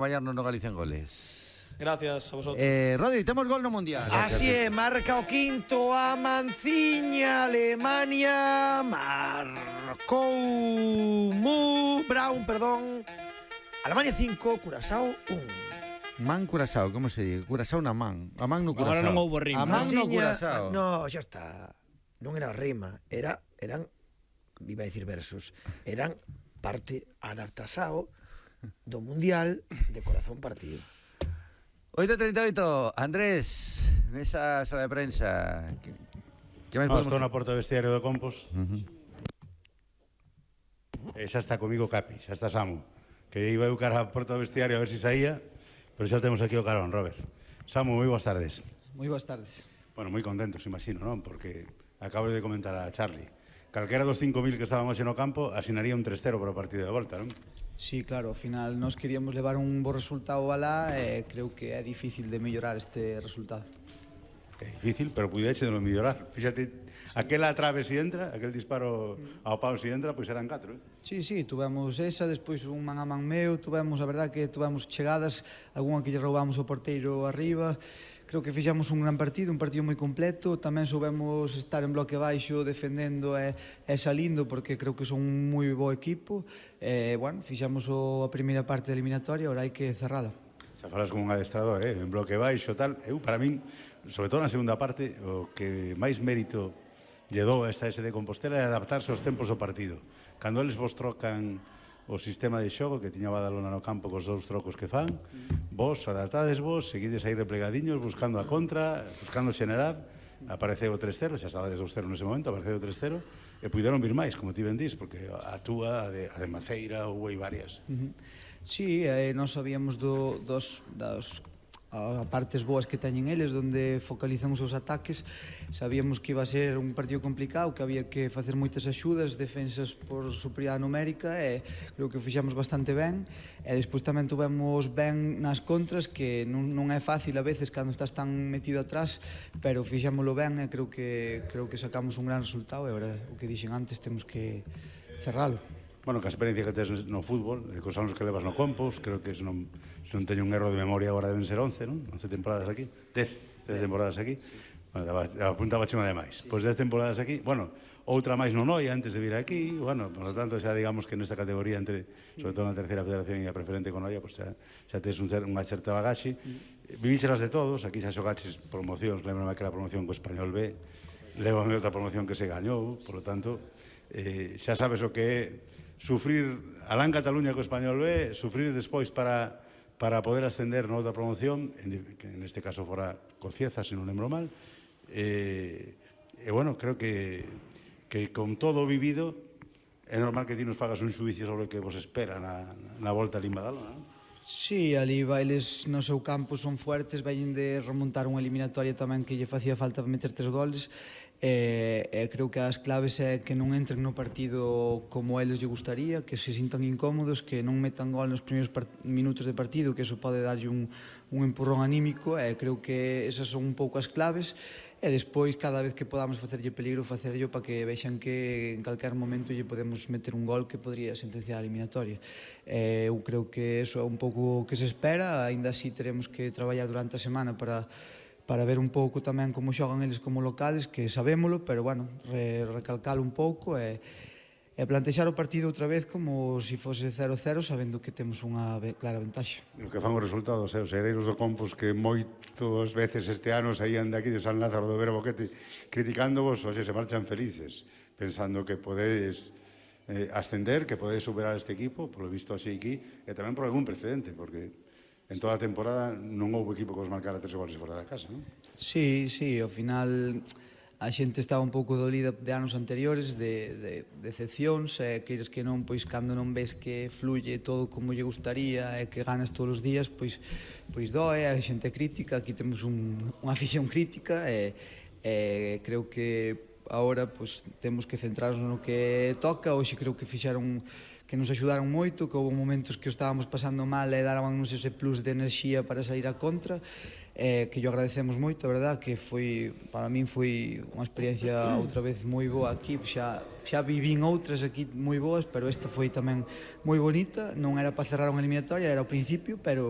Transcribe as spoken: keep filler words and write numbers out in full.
acompañarnos no Galicia en Goles. Gracias a vosotros. Eh, Rodri, temos gol no Mundial. Así é, marca o quinto a Manciña, Alemania, marcou Mu, Brown, perdón. Alemania cinco, Curazao un. Man Curazao, como se dice? Curazao na man. A man no Curazao. Agora non houbo rima. A man no Manciña, Curazao. no, xa está. Non era rima, era, eran, iba a decir versos, eran parte adaptasao do Mundial de corazón partido. oito treinta e oito, Andrés, nesa sala de prensa. Que, que máis No, podemos... estou na porta do vestiario do Compos. Uh -huh. E xa está comigo Capi, xa está Samu. Que iba eu cara a porta do vestiario a ver se si saía, pero xa temos aquí o carón, Robert. Samu, moi boas tardes. Moi boas tardes. Bueno, moi contentos, imagino, non? Porque acabo de comentar a Charlie. Calquera dos cinco mil que estaban hoxe no campo asinaría un tres cero para o partido de volta, non? Sí, claro, ao final nós queríamos levar un bo resultado alá e creo que é difícil de mellorar este resultado. É difícil, pero puideche de non mellorar. Fíxate, aquela trave si entra, aquel disparo ao pau si entra, pois eran catro, eh? Sí, sí, tuvemos esa, despois un man a man meu, tuvemos, a verdad que tuvemos chegadas, algunha que lle roubamos o porteiro arriba. Creo que fixamos un gran partido, un partido moi completo, tamén soubemos estar en bloque baixo defendendo e, e salindo porque creo que son un moi bo equipo e, bueno, fixamos o, a primeira parte da eliminatoria, agora hai que cerrala. Xa falas como un adestrador, eh? En bloque baixo, tal. Eu, para min, sobre todo na segunda parte, o que máis mérito lle dou a esta ese de Compostela é adaptarse aos tempos do partido. Cando eles vos trocan o sistema de xogo que tiña Badalona no campo cos dous trocos que fan, vos adaptades vos, seguides aí replegadiños, buscando a contra, buscando xenerar, apareceu o tres cero, xa estaba desde o cero nese momento, apareceu o tres cero, e puideron vir máis, como ti ben dís, porque a túa, a de, a de Maceira, houve varias. Uh -huh. Sí, eh, nós sabíamos do, dos, das a partes boas que teñen eles, onde focalizan os seus ataques. Sabíamos que iba a ser un partido complicado, que había que facer moitas axudas, defensas por superioridade numérica, e creo que o fixamos bastante ben. E despois tamén tuvemos ben nas contras, que non, non é fácil a veces cando estás tan metido atrás, pero fixámoslo ben e creo que, creo que sacamos un gran resultado, e agora, o que dixen antes, temos que cerralo. Bueno, que a experiencia que tes no fútbol, cos anos que levas no Compos, creo que se non, se non teño un erro de memoria agora deben ser once, non? once temporadas aquí, dez, dez temporadas aquí. Sí. Bueno, apuntaba chima de máis. Sí. Pois dez temporadas aquí, bueno, outra máis no Noia antes de vir aquí, bueno, por lo tanto, xa digamos que nesta categoría, entre, sobre todo na terceira federación e a preferente con Noia, pues xa, xa tes un, unha certa bagaxe. Mm. Vivíxelas de todos, aquí xa xogaches promocións, lembrame que la promoción co Español B, levame outra promoción que se gañou, por lo tanto, eh, xa sabes o que é sufrir alá en Cataluña co Español B, sufrir despois para, para poder ascender na outra promoción, en, que en este caso fora Cocieza, se non lembro mal, e, e bueno, creo que, que con todo vivido é normal que ti nos fagas un xuicio sobre o que vos espera na, na volta a Limbadalona, non? Sí, ali bailes no seu campo son fuertes, veñen de remontar unha eliminatoria tamén que lle facía falta meter tres goles, e, e creo que as claves é que non entren no partido como eles lle gustaría, que se sintan incómodos, que non metan gol nos primeiros minutos de partido, que eso pode darlle un, un empurrón anímico, e creo que esas son un pouco as claves, e despois cada vez que podamos facerlle peligro, facerlle para que vexan que en calquer momento lle podemos meter un gol que podría sentenciar a eliminatoria. E eu creo que eso é un pouco o que se espera, aínda así teremos que traballar durante a semana para para ver un pouco tamén como xogan eles como locales, que sabémolo, pero, bueno, re, recalcalo un pouco e, e plantexar o partido outra vez como se si fose cero cero, sabendo que temos unha clara ventaxa. O que fan os resultados, eh, os hereiros do Compos que moitas veces este ano saían de aquí de San Lázaro do Vera Boquete criticándovos, hoxe se marchan felices, pensando que podedes eh, ascender, que podedes superar este equipo, polo visto así aquí, e tamén por algún precedente, porque en toda a temporada non houve equipo que os marcara tres goles fora da casa, non? Sí, sí, ao final a xente estaba un pouco dolida de anos anteriores, de, de decepcións, e queires que non, pois cando non ves que fluye todo como lle gustaría e que ganas todos os días, pois, pois doe, a xente crítica, aquí temos un, unha afición crítica e, e creo que agora pois, temos que centrarnos no que toca. Hoxe creo que fixeron que nos axudaron moito, que houve momentos que o estábamos pasando mal e darábanos ese plus de enerxía para sair a contra, eh, que yo agradecemos moito, a verdad, que foi, para min foi unha experiencia outra vez moi boa aquí, xa, xa vivín outras aquí moi boas, pero esta foi tamén moi bonita, non era para cerrar unha eliminatoria, era ao principio, pero